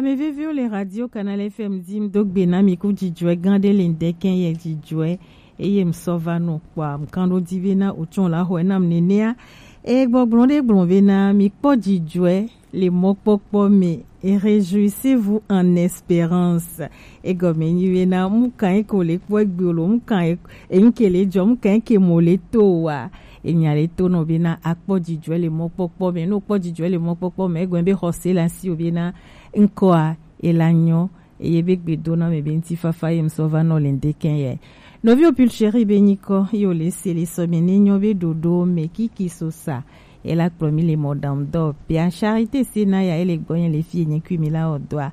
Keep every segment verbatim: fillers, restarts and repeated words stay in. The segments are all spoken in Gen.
Ame veviwo le Radio Canal F M dim do gbe na mi ku dzidzɔe gã ɖe le ŋdɛkɛ yɛ dzidzɔe eye ŋsɔ va nɔ kpɔa ŋkan ɖo di be na wòtsɔ la xɔe nam nenea. Eye gbɔgblɔ ɖe gblɔ be na mi kpɔ dzidzɔe le mɔkpɔkpɔ me. Et réjouissez-vous en espérance. Egɔme nyi be na mu kan yi ko le kpɔ egbe o lo, mu kan yi, eyin ke le dzɔ, mu kan yi ke mo le to wa. Enya le to nɔ be na akpɔ dzidzɔe le mɔkpɔkpɔ me. No kpɔ dzidzɔe le mɔkpɔkpɔ me, egɔme be xɔse la si o be na ŋkɔa e la nyɔ. Eye be gbe do na me be ŋutifafa ye ŋsɔ va nɔ le ŋdɛkɛ yɛ. Nɔviwo Pulchérie be nyikɔ ye wòle se le sɔ me ne nyɔ be ɖoɖo me kiki so sa. E la kplɔ mi le mɔ dam dɔ. Pia Charité se na ya ele gbɔnye le fi enyi kui mi la o doa.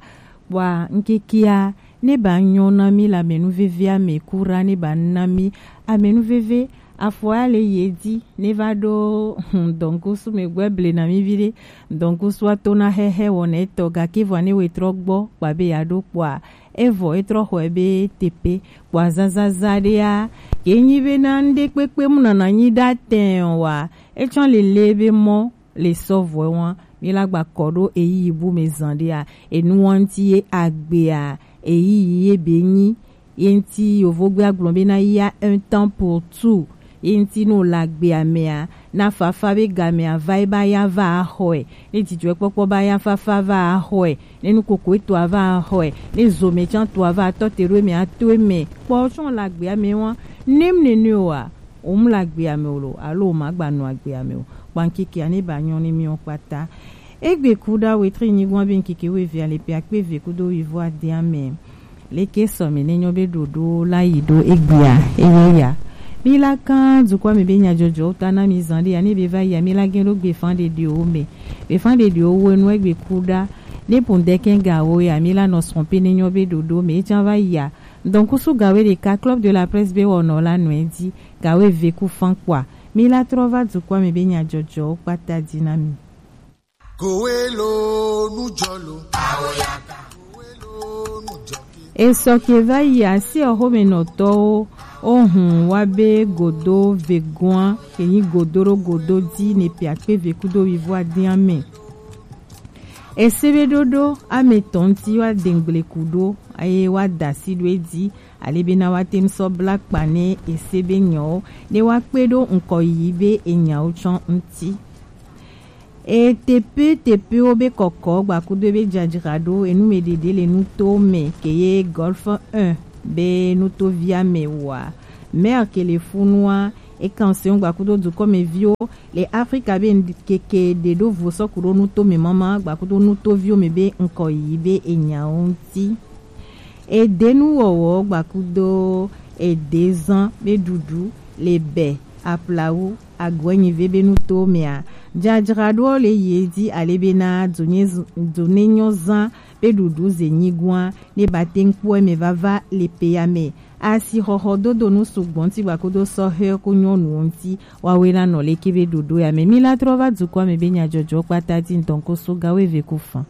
Kpɔa ŋkekea ne ba nyɔ na mi la menu vevia me kura ne ba na mi amenu veve afɔ ya le ye di ne va ɖo hmm, dɔnkusu me gbɛ ble na mi vi ɖe. Dɔnkusu ato na xɛxɛ wɔna etɔ gake vɔ ne we trɔ gbɔ kpa be ya ɖo kpɔa evɔ etrɔ xɔe be tepe kpɔa zazaza ɖea ke nyi be na ŋɖe kpekpe mu nana nyi ɖa tɛn wa etsɔ lele be mɔ le sɔvɔe wa mi la gba kɔ ɖo eyi bu me zan ɖea enu wa ŋti ye agbea eyi ye be nyi ye ŋti yovogbe agblɔ be na ya un temps pour tout. Ye ŋti no la gbea mea na fafa be gamea va ye ba ya va axɔe ne dzidzɔkpɔkpɔ ba ya fafa va axɔe ne nukoko etɔa va axɔe ne zome can toa va atɔ te ɖo eme ato eme kpɔ tsɔ la gbea me wa nem nene oa wom la gbea me o lo alo woma gba nɔ agbea me o kpankekea ne ba nyɔ ne miɔ kpata. Egbe ku ɖa wetri nyigba be ŋkeke wo evea le pe akpe eve kudo wivo adea me. Leke sɔ mi ne nyɔ be ɖoɖo la yi ɖo egbea eye ya. Mi la kan dukɔ mi be nyadzɔdzɔ ta na mi zan ɖe ya ne be va ya mi la gen ɖo gbe fan ɖeɖewo me. Be fan ɖeɖewo wo enu egbe ku ɖa ne pun ɖe kɛn ga wo ya mi la nɔ srɔ̃ pe ne nyɔ be ɖoɖo me ejan va ya. Donc kusu gawe ɖeka Club de la Presse be wɔnɔ la nɔ edi gawe ve ku fan kpɔa. Mi la trɔ va dukɔ mi be nyadzɔdzɔwo kpata di na mi. Kowelo nujɔlo. Esɔ ke va yi asi exomenɔtɔwo ohun wa be godo vegoa ke nyi godo ɖo godo di ne piakpe ve kudo wivo adia me. Ese be ɖoɖo ame tɔn ti wa dengble ku ɖo eye wa da si ɖo edi ale be na wa te ŋsɔ bla kpa ne ese be nyawo ne wa kpe ɖo ŋkɔ yi be enyawo tsɔ ŋti. E tepe tepewo be kɔkɔ gbakudo be dzadzraɖo enumeɖeɖe le nuto me ke ye Golf un be nutovia me wa. Maire ke le funua e kansewo gbakudo dukɔmeviwo le Afrika be keke ɖe ɖo vo sɔku ɖo nuto me mama gbakudo nutoviwo me be ŋkɔ yi be enyawo ŋti. Edenuwɔwɔ gbakudo edezan be ɖuɖu le bɛ aplawu agɔnyive be nuto mea dzadzraɖoɔ le yi edi ale be na dzonye z- dzonenyo zan be ɖuɖu ze nyigɔa ne ba te ŋkpɔ eme vava le peya me. Asixɔxɔ dodo nu sugbɔ ŋti gbakudo sɔhɛ ku nyɔnuwo ŋti wawe la nɔ leke be ɖoɖo ya me mi la trɔ va dukɔa me be nyadzɔdzɔ kpata di ŋdɔn ko so gawo eve ku fan.